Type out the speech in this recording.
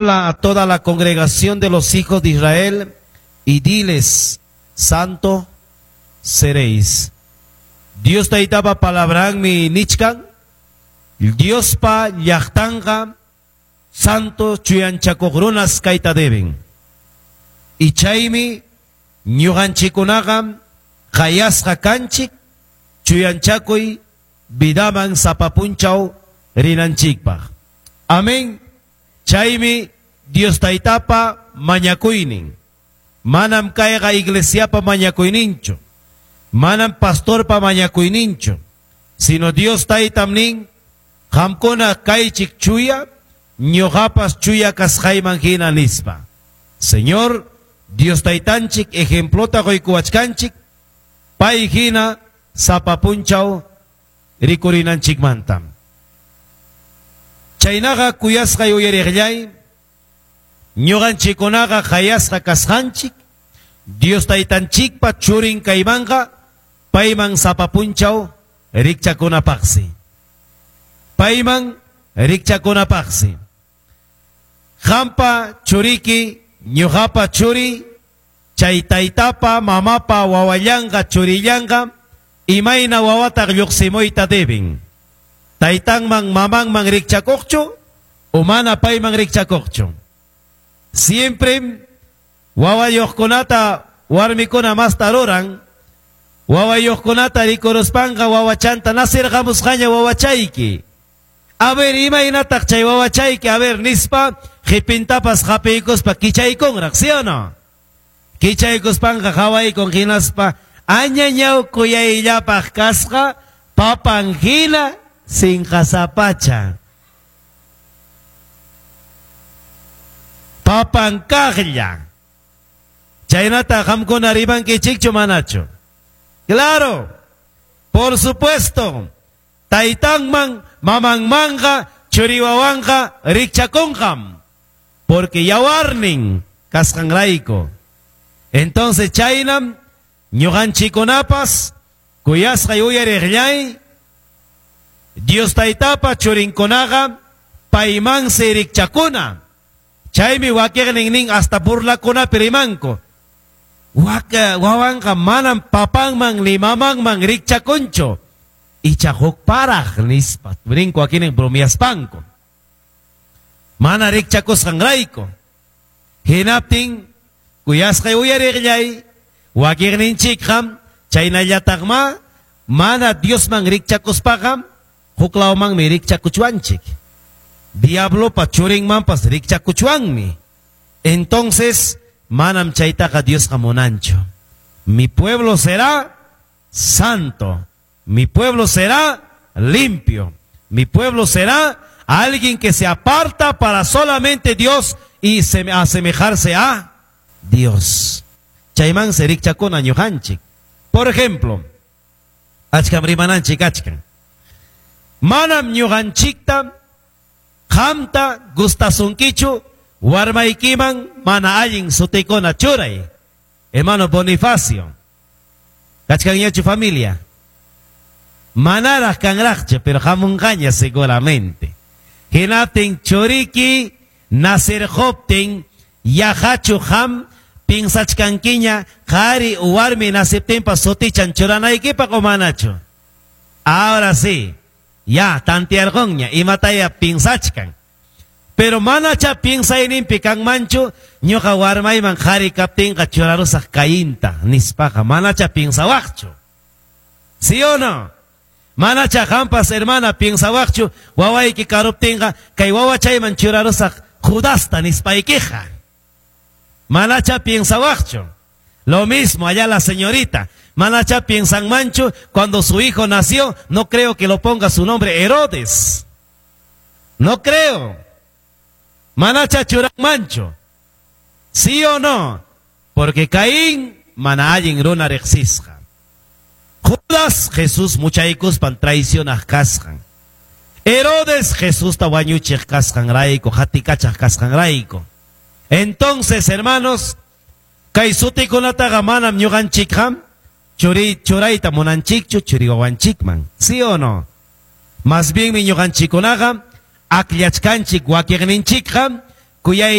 A toda la congregación de los hijos de Israel y diles: santo seréis. Dios taytapa palabranmi nichkan, Diospa llaqtanqa santo chuyanchakuq runas kayta deben. Y chaymi ñuqanchikkunaqa qayasqa kanchik chuyanchakuy vidaman sapa punchaw rinanchikpaq. Amén. Chaymi Dios taytapa mañakuynin. Manam kayqa iglesiapa mañakuyninchu. Manam pastorpa mañakuyninchu. Sino Dios taytam nin, qamkuna kaychik chuya, ñuqapas chuya kasqayman hina nispa. Señor, Dios taytanchik ejemplota quykuwachkanchik, pay hina sapa punchaw rikurinanchikmanta. Chaynaqa kuyasqay uyariqllay, ñuqanchikkunaqa qayasqa kasqanchik, Dios taytanchikpa churin kaymanqa payman sapa punchaw rikchakunapaqsi. Payman rikchakunapaqsi. Qampa churiki, ñuqapa churi, chay taytapa, mamapa, wawallanqa, churillanqa, imayna wawataq lluqsimuyta deben. Taytanman, mamanman rikchakuqchu, o mana payman rikchakuqchu. Siempre wawayuqkunata warmikuna masta ruran, wawayuqkunata rikuruspanqa wawachanta nasirqamusqaña wawachayki. A ver, imaynataq chay wawachayki, a ver, nispa, qipintapas hapiykuspa kichaykunraq, ¿sí o no? Kichaykuspanqa hawaykun hinaspa añañaw kuyayllapaq kasqa papan hina sinqasapacha. Papan kaqlla. Chaynata qamkuna rimankichikchu manachu? Claro, por supuesto. Taytanman, mamanmanqa, churiwawanqa rikchakunqam. Porque yawarnin kasqanrayku. Entonces chaynam ñuqanchikkunapas kuyasqay uyariqllay, Dios taytapa churinkunaqa paymansi rikchakuna. Chaymi wakiqnin nin hasta burlakunapi rimanku. Wawanqa manam papanman ni mamanman rikchakunchu. Icha huk paraq nispa. Rinku wakinin bromiaspanku. Mana rikchakusqanrayku. Hinaptin kuyasqay uyariqllay, wakiqninchikqa chaynallataqma mana Diosman rikchakuspaqa huklawmanmi rikchakuchwanchik. Diablopa churinmanpas rikchakuchwanmi. Entonces, manam chaytaqa Diosqa munanchu. Mi pueblo será santo. Mi pueblo será limpio. Mi pueblo será alguien que se aparta para solamente Dios y asemejarse a Dios. Chaymansi rikchakuna ñuqanchik. Por ejemplo, achkam rimananchik achkan. Manam ñuqanchikta qamta gustasunkichu warmaykiman mana allin sutikuna churay. Hermano Bonifacio. Kachkanñachu familia? Manaraq kanraqchu, pero hamunqaña seguramente. Hinaptin churiki nasirquptin yahachu ham pinsachkankiña qhari warmi nasiptinpas sutichan churanaykipaq o manachu. Ahora sí, ya tantearqunña imataya pinsachkan. Pero manacha pinsayninpi kanmanchu ñuqa warmayman qhari kaptinqa churarusaq Cainta nispaqa manacha pinsawaqchu. ¿Sí o no? Manacha qampas hermana pinsawaqchu wawayki karuptinqa kay wawachayman churarusaq Judasta nispaykiqa. Manacha piensawaqchu. Lo mismo allá la señorita. Manacha piensanmanchu cuando su hijo nació, no creo que lo ponga su nombre Herodes. No creo. Manacha churanmanchu. ¿Sí o no? Porque Caín mana allin runa riqsisqa. Judas Jesús muchaykuspan traicionaq kasqan. Herodes Jesusta wañuchiq kasqanrayku, hatikachaq kasqanrayku. Entonces, hermanos, kay sutikunataqa manam ñuqanchikqa churayta munanchikchu churiwawanchikman. ¿Sí o no? Más bien mi ñuqanchikkunaqa akllachkanchik wakiqninchikqa Kuyay.